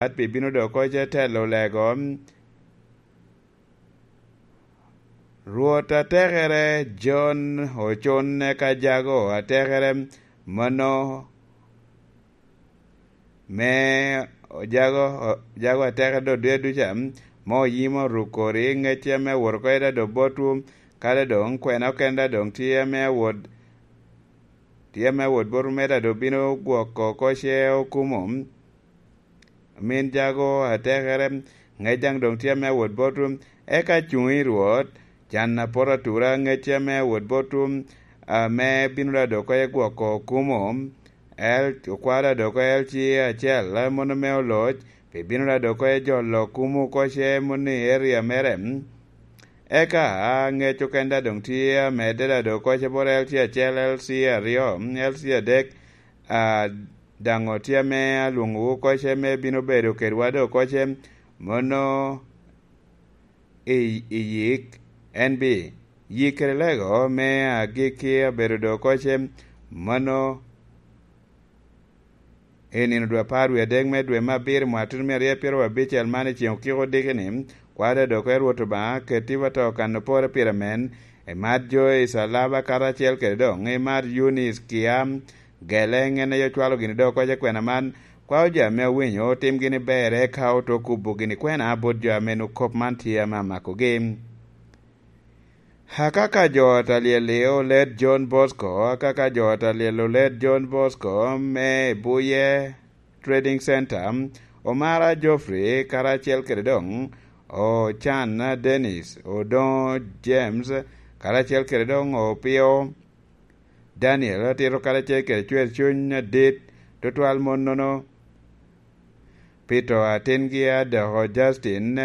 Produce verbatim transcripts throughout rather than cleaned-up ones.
pi bino dok koc telo lego. Rwot atekere John ocunne ka jago atekere mano me jago, jago atekere dok duca duca, ma oyimo rukori ŋecce ame wot oko eda dok botwu, kadi doŋ kwena okenda doŋ tye ame awot, tye ame awot botwu, me eda dok bino gwoko koce okumo. Min jago atekere, ŋec daŋ doŋ tye ame awot botwu, eka cuŋ i Rwot, can apot atura, ŋec tye ame awot botwu, ame bino da dok koce gwoko okumo, el, okwalo da dok koce L C acel, mano me oloc, pi bino da dok koce jolo okumo koce moni i eria mere. Eka ŋec okenda doŋ tye amedde da dok koce bot L C acel, L C aryo, L C adek, a, daŋ otye ame alwoŋowu koce me bino bedo kedwa dok koce, mano i, i yik, en bi yik kede lego me agikki abedo dok koce, mano i nino dwe apar wie adek me dwe me abiro mwatun mia aryo pyero abicel man i ceŋ okiko diki ni, kwada dok koce Rwot Obaŋa, keti wa to kan opore pire men, imat jo i Calaba karacel kede doŋ, imat Yunis Kiam, gele ŋen aye ocwalo gini dok koce kwena man, kwao jo ame owinyo, otim gini ber, eka oto kubo gini kwena bot jo ame nu kop man tye ame amakogi. Akaka jo ot alyel-li oled John Bosco, akaka jo ot alyel oled John Bosco me Buye Trading Center, Omara Geoffrey karacel kede doŋ Ocan Dennis, Odoŋo James karacel kede doŋ Opio Daniel, atito karacel kede cwer cuny adit tutwal monnono, pi to atingi adoko Justin,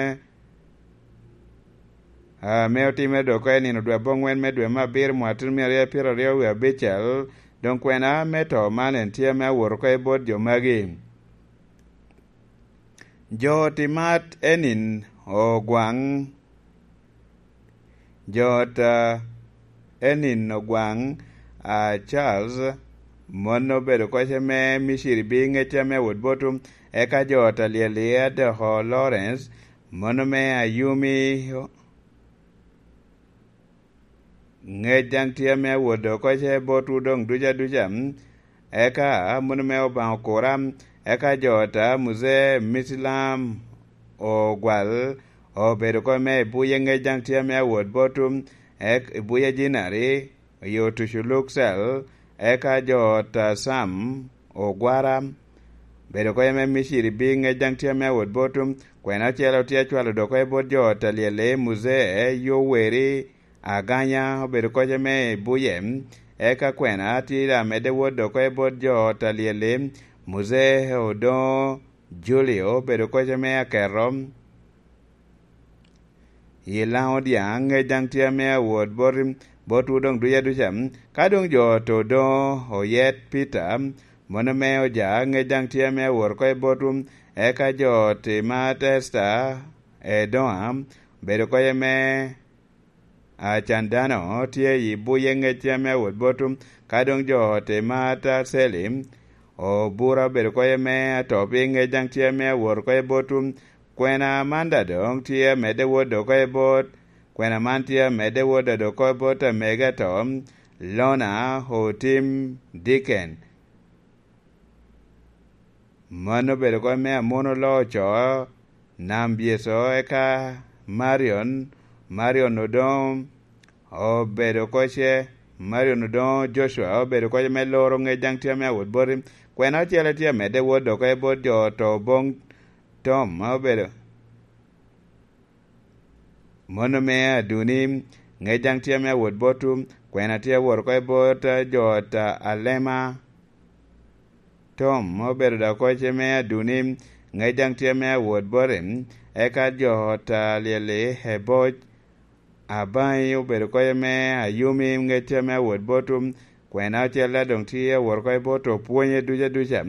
ame otimere dok oko i nino dwe aboŋwen me dwe me abiro mwatun mia aryo pyeraryo wie abicel, doŋ kwena me to man en tye ame awot oko i bot jo magi. Jo timat enin ogwaŋ, jo ta enin ogwaŋ, a, Charles, mon obedo koce me Miciri bi ŋecce ame wot botu, eka jo ta lyel-li adoko Lawrence, mon ame Ayumi, ŋec daŋ tye ame awot dok koce botwu doŋ duca duca, eka mano me Obaŋa okura, eka jo ta Muzee Misilam ogwal, obedo kome me i buye, ŋec daŋ tye ame awot botwu, ek-, i buye Jinari, i otuco Luksel, eka jo ta Sam ogwara, bedo kome me Miciri bi, ŋec daŋ tye ame awot botwu, kwena ocele otye acwalo dok koce bot jo ta lyel-li, Muzee Yoweri, Aganya obedo koce me i buye, eka kwena tye amedde wot dok koce bot jo ta lyel-li, Muzee Odoŋo Julio obedo koce me aketo, i Laŋo Diaŋ, ŋec daŋ tye ame awot bot, botwu doŋ duca duca, ka doŋ jo ta Odoŋo Oyet Peter, mano me Oja, ŋec daŋ tye ame awot koce botwu, eka jo ta Imat Esta Edoŋa, obedo koce me Acan dano tye i buye, ŋec tye ame awot botwu, ka doŋ jo ta Imat Aceli, obura obedo koce me ato piny, ŋec daŋ tye ame awot koce botwu, kwena man daŋ doŋ tye amedde wot dok koce bot, kwena man tye amedde wot daŋ dok koce bot amego ato, Lona Otim Diken. Mano obedo kop me Amono Loo Ocoo, Nam Byeco, eka Marion, Marion Odoŋo obedo koce, Marion Odoŋo Joshua obedo koce me loro, ŋec daŋ tye ame awot boti. Kwena ocele tye amedde wot dok koce bot jo oto boŋ Tom obedo. Mano me Aduni, ŋec daŋ tye ame awot botwu, kwena tye awot oko i bot jo ta Alema. Tom obedo dok koce me Aduni, ŋec daŋ tye ame awot bote, eka jo ta lyel-li Eboc. Abaŋi obedo koce me Ayumi, ŋec tye ame awot botwu, kwena ocele doŋ tye awot oko i bot opwonye duca duca,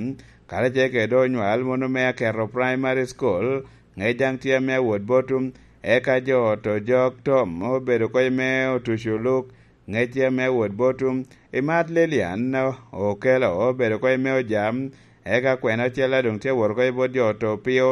karacel kede onywal munu me Aketo Primary School, ŋec daŋ tye ame awot botwu, eka jo ta Ojok Tom obedo koce me Otuco Luk, ŋec tye ame awot botwu, Imat Lilian Okelo obedo koce me Ojam, Eka kwena acel a doŋ tye awot oko i bot jo oto pio